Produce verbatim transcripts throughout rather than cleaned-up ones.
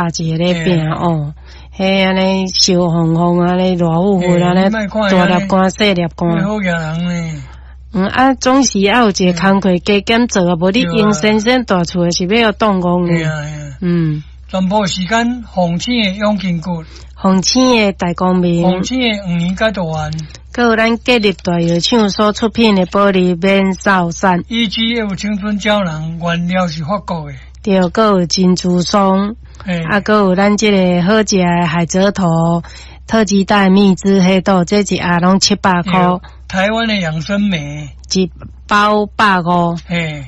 一个咧拼哦，彼按呢燒烘烘按呢熱乎乎按呢大粒肝細粒肝。好額人呢。嗯啊，總是愛有一個工課加減做啊，無你用先生蹛厝的是欲予擋戇呢。嗯。全部時間，鳳青的養筋骨，鳳青的大光明，鳳青的黃連解毒丸，閣有咱建立大藥廠所出品的保利免瘦散，E G F 青春膠囊，原料是法國的，對，閣有珍珠霜，啊，閣有咱這个好食的海蜇頭、特級大蜜汁黑豆，這一盒攏七百箍。台灣的養生酶，一包百五，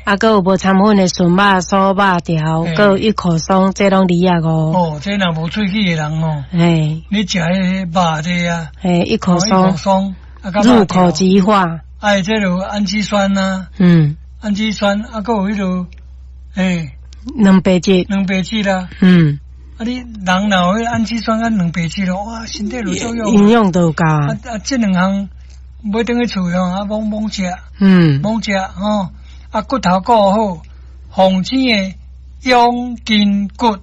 啊，閣有無摻粉的純肉酥肉條，閣有一口鬆，這攏二十五。哦，這若無喙齒的人哦，嘿，你食彼個肉這啊，嘿，一口鬆，入口即化。哎，這有氨基酸啊，嗯，氨基酸啊，閣有彼个，嘿，蛋白質，蛋白質啦，嗯，啊，你人若有彼氨基酸佮蛋白質咯，哇，身體就作用，營養都夠。啊啊，這兩項。買轉去厝吼，啊，猛猛食，嗯，猛食吼，啊，骨頭顧好，防止的養筋骨，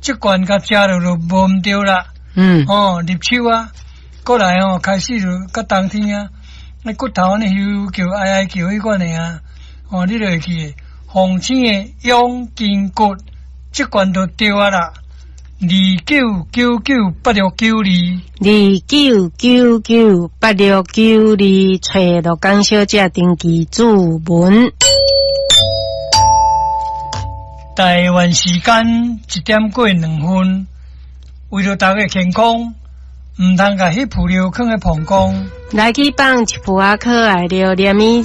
這罐共食落就無毋著啦，嗯，哦，入秋啊，過來吼，開始就到冬天啊，那骨頭按呢咻叫哀哀叫彼款的啊，哦，你就會記防止的養筋骨，這罐就對啊啦。二九九九八六九二，二九九九八六九二，揣鹿港小姐登記注文。台灣時間一點過兩分，為著大家健康，毋通共彼浮料囥佇膀胱。來去放一副仔可愛著，連伊